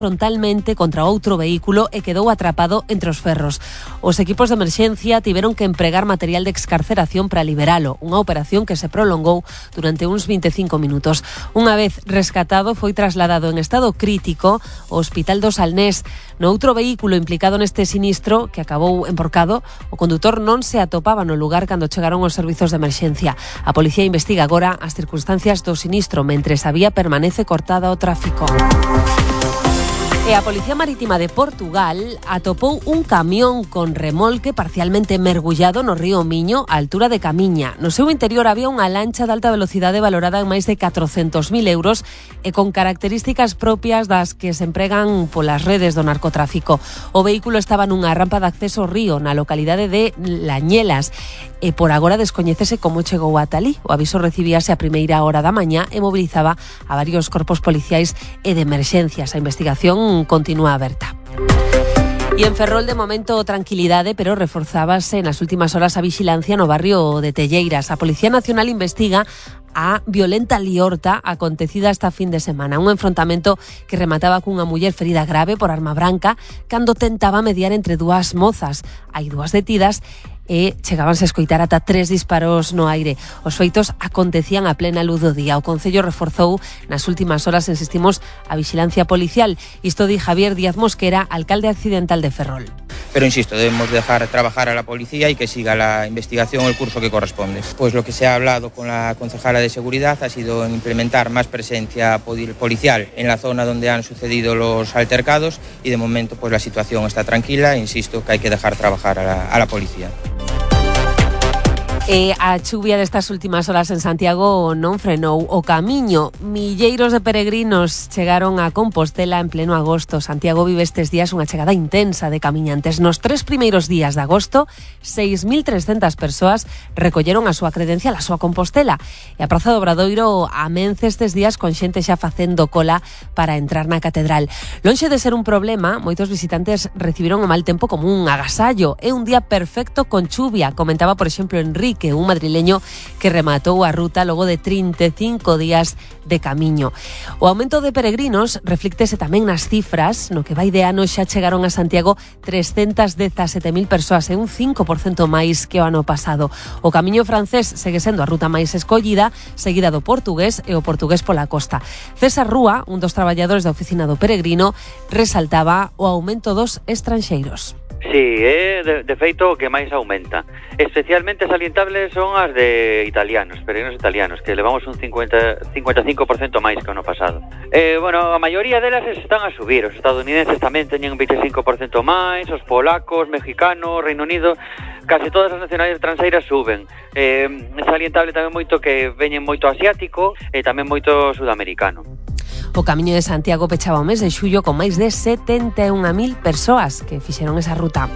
frontalmente contra outro vehículo e quedou atrapado entre os ferros. Os equipos de emerxencia tiveron que empregar material de excarceración para liberalo, unha operación que se prolongou durante uns 25 minutos. Unha vez rescatado, foi trasladado en estado crítico ao Hospital do Salnés. No outro vehículo implicado neste sinistro, que acabou enporcado, o condutor non se atopaba no lugar cando chegaron os servizos de emerxencia. A policía investiga agora as circunstancias do sinistro, mentres a vía permanece cortada ao tráfico. E a Policía Marítima de Portugal atopou un camión con remolque parcialmente mergullado no río Miño, á altura de Camiña. No seu interior había unha lancha de alta velocidade valorada en máis de 400.000 euros e con características propias das que se empregan polas redes do narcotráfico. O vehículo estaba nunha rampa de acceso ao río na localidade de Lañelas e por agora descoñécese como chegou ata alí. O aviso recibíase a primeira hora da mañá e mobilizaba a varios corpos policiais e de emerxencias. A investigación continúa aberta. E en Ferrol, de momento, tranquilidade, pero reforzábase nas últimas horas a vixilancia no barrio de Telleiras. A Policía Nacional investiga a violenta liorta acontecida esta fin de semana. Un enfrontamento que remataba cunha muller ferida grave por arma branca cando tentaba mediar entre dúas mozas. Hai dúas detidas e chegábanse a escoitar ata 3 disparos no aire. Os feitos acontecían a plena luz do día. O Concello reforzou nas últimas horas, insistimos, a vixilancia policial. Isto di Javier Díaz Mosquera, alcalde accidental de Ferrol. Pero insisto, debemos dejar trabajar a la policía y que siga la investigación, el curso que corresponde. Pues lo que se ha hablado con la concejala de seguridad ha sido implementar más presencia policial en la zona donde han sucedido los altercados y de momento pues la situación está tranquila. Insisto que hay que dejar trabajar a la policía. E a chuvia destas últimas horas en Santiago non frenou o camiño. Milleiros de peregrinos chegaron a Compostela en pleno agosto. Santiago vive estes días unha chegada intensa de camiñantes. Nos 3 primeiros días de agosto, 6.300 persoas recolleron a súa credencial, a súa Compostela. E a Praza do Obradoiro amence estes días con xente xa facendo cola para entrar na catedral. Lonxe de ser un problema, moitos visitantes recibiron o mal tempo como un agasallo. É un día perfecto con chuvia, comentaba, por exemplo, Enrique, un madrileño que rematou a ruta logo de 35 días de camiño. O aumento de peregrinos reflíctese tamén nas cifras. No que vai de ano xa chegaron a Santiago 317.000 persoas, un 5% máis que o ano pasado. O camiño francés segue sendo a ruta máis escollida, seguida do portugués e o portugués pola costa. César Rúa, un dos traballadores da oficina do peregrino, resaltaba o aumento dos estranxeiros. Sí, de feito o que máis aumenta. Especialmente salientables son as de italianos, peregrinos italianos, que levamos un 55% máis que o ano pasado. Bueno, a maioría delas están a subir. Os estadounidenses tamén teñen un 25% máis, os polacos, mexicanos, Reino Unido, case todas as nacionalidades tranxeiras suben. É salientable tamén moito que veñen moito asiático e tamén moito sudamericano. O Camiño de Santiago pechaba o mes de xullo con máis de 71.000 persoas que fixeron esa ruta.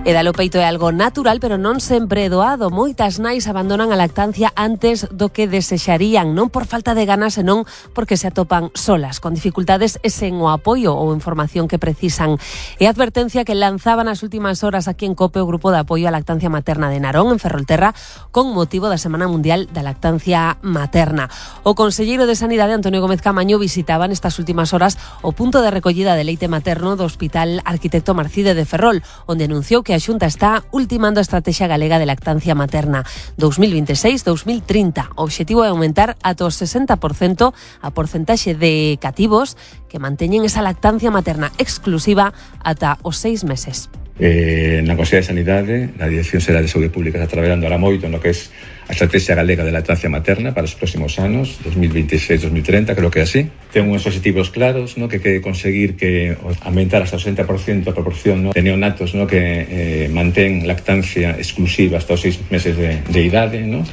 E dar o peito é algo natural, pero non sempre é doado. Moitas nais abandonan a lactancia antes do que desexarían, non por falta de ganas, senón porque se atopan solas, con dificultades e sen o apoio ou información que precisan. E a advertencia que lanzaba nas últimas horas aquí en COPE o Grupo de Apoio á Lactancia Materna de Narón, en Ferrolterra, con motivo da Semana Mundial da Lactancia Materna. O conselleiro de Sanidade, Antonio Gómez Camaño, visitaba nestas últimas horas o punto de recollida de leite materno do Hospital Arquitecto Marcide de Ferrol, onde anunciou que a Xunta está ultimando a Estrategia Galega de Lactancia Materna 2026-2030. O obxectivo é aumentar ata o 60% a porcentaxe de cativos que manteñen esa lactancia materna exclusiva ata os 6 meses. Na Consellería de Sanidade, na Dirección Xeral de Saúde Pública, está traballando ahora moito no que é a Estrategia Galega de Lactancia Materna para os próximos anos, 2026-2030, creo que é así. Ten uns objetivos claros, no, que quere conseguir que aumentar hasta o 60% a proporción, no, de neonatos, no, que mantén lactancia exclusiva hasta os 6 meses de idade. No.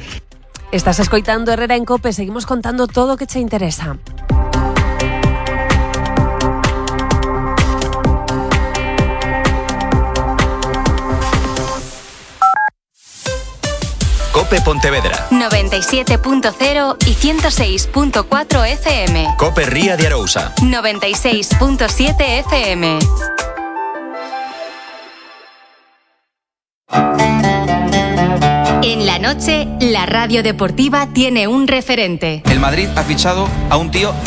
Estás escoitando Herrera en COPE, seguimos contando todo o que che interesa. COPE Pontevedra 97.0 y 106.4 FM. COPE Ría de Arousa 96.7 FM. En la noche, la radio deportiva tiene un referente. El Madrid ha fichado a un tío